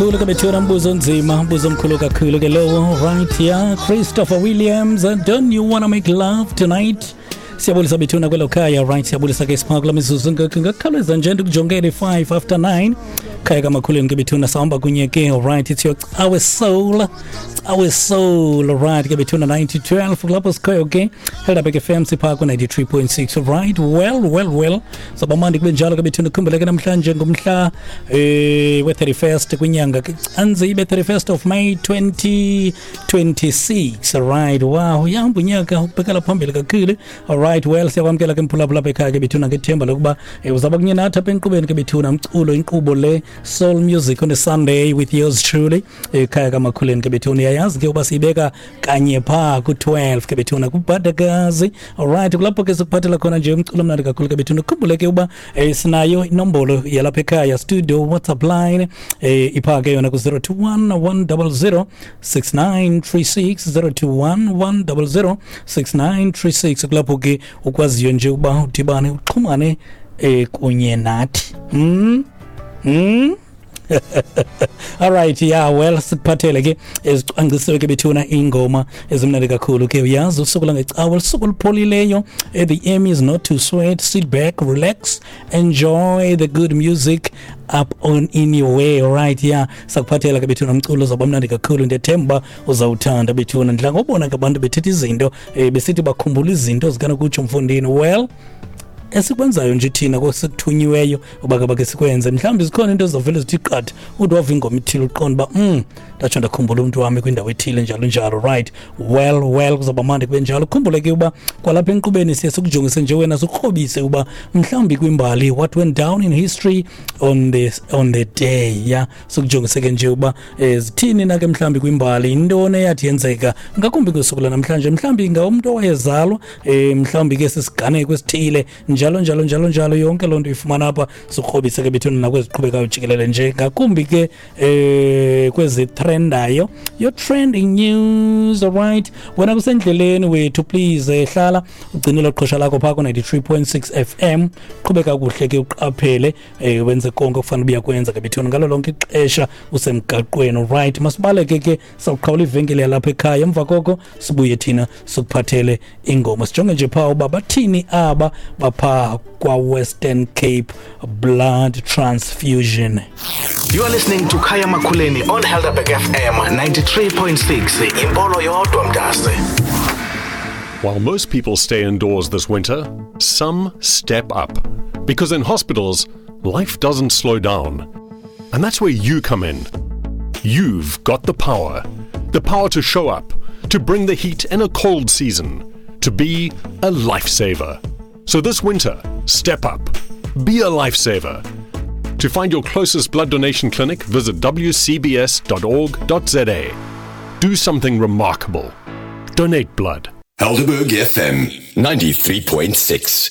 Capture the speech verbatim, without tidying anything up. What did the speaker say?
Kakhulu ke bethuna, mbuzo onzima, mbuzo omkhulu kakhulu ke lowo. Right here, Christopher Williams, "Don't You Wanna Make Love Tonight". Siyabulisa bethuna kwelo khaya. Right, siyabulisa ke sipha kula mizuzu ngakhawuleza nje ndikujongele five after nine, khaya kamakhuleni ke bethuna, sahamba kunye ke. Right, it's your Cawe Soul, Cawe Soul. Right ke bethuna, nine to twelve kulapho sikhoyo ke, Helderberg F M, sipha ku ninety-three point six. Right, well, well, well, sabamandi kube njalo ke bethuna. Khumbuleke namhlanje ngumhla eh we-thirty-first kwinyanga kaCanzibe, thirty-first of May twenty twenty-six. Right, wow, uyahamba unyaka, ubhekela phambili kakhulu. Alright, well, siyakwamkela ke mphulaphula apha ekhaya ke bethuna, ngethemba lokuba eh, uzawuba kunye nathi apha enkqubeni ke bethuna, umculo, inkqubo le Soul Music on a Sunday with yours truly, ekhaya kamakhuleni ke bethuna. Uyayazi ke uba siyibeka kanye phaa ku-twelve ke bethuna, kubhadakazi. Alright, kulapho ke sikuphathela khona nje umculo omnandi kakhulu ke bethuna. Khumbule ke uba eh, sinayo inombolo yalapha ekhaya, studio WhatsApp line, eh, ipha ke yona ku-zero two one, one zero zero six nine three six, zero two one, one zero zero six nine three six, kulapho ke ukwaziyo nje ukuba udibane, uxhumane eh, kunye nathi. mm? Mm? Alright, yeah, well, sikuphathele ke ezicwangcisiwe ke bethuna, ingoma ezimnandi kakhulu ke. Uyazi usuku langecawe lusuku olupholileyo. eh, the aim is not to sweat. Sit back, relax, enjoy the good music up on in your way. Alright, yeah, sakuphathela ke bethuna umculo uzawuba mnandi kakhulu. Ndiyethemba uzawuthanda bethuna. Ndidla ngobona ke abantu bethetha izinto, eh, besithi bakhumbula izinto zikanokutsho mfondini. Well, esikwenzayo nje thina kosikuthunyiweyo uba ke bake sikwenze, mhlawumbi zikhona into ezizawuvele zithi qatha, uthi wava ingoma ithile, uqonda uba mm ndatsho ndakhumbula umntu wami kwindawo ethile, njalo njalo. Right, well well kuzawuba mandi kube njalo. Khumbule ke uba kwalapha enkqubeni siye sikujongise nje wena, sikrobise uba mhlawumbi kwimbali, what went down in history on the, on the day. Ya, sikujongise ke nje uba eh, zithini na ke mhlawumbi kwimbali, intoni eyathi yenzeka ngakumbi ngosuku lanamhlanje, mhlawumbi ngumntu owayezalwa, um mhlawumbi ke sisiganeko esithile, njalo njalo njalo njalo. Yonke loo nto uyifumana apha, sikrobise ke bethuna nakweziqhubekayo jikelele nje, ngakumbi ke eh kwezitrendayo, your trending news. Alright, wena kusendleleni wethu, please eh, hlala ugcinile uqhosha lakho phaa ku-ninety-three point six F M. Qhubeka kuhle ke, uqaphele, eh, wenze konke okufanele ubuyakwenza ke bethuna ngalo lonke ixesha usemgaqweni. Right, masibaleke ke, sawuqhawula ivenkile yalapha ekhaya, emva koko sibuye thina sikuphathele ingoma. Sijonge nje phaa uba bathini aba baphaa kwa-Western Cape Blood Transfusion. You are listening to Khaya Makhuleni on Helderberg F M ninety-three point six. Impolo yodwa mntase. While most people stay indoors this winter, some step up. Because in hospitals, life doesn't slow down. And that's where you come in. You've got the power. The power to show up, to bring the heat in a cold season, to be a lifesaver. So this winter, step up. Be a lifesaver. To find your closest blood donation clinic, visit W C B S dot org dot Z A. Do something remarkable. Donate blood. Helderberg F M ninety-three point six.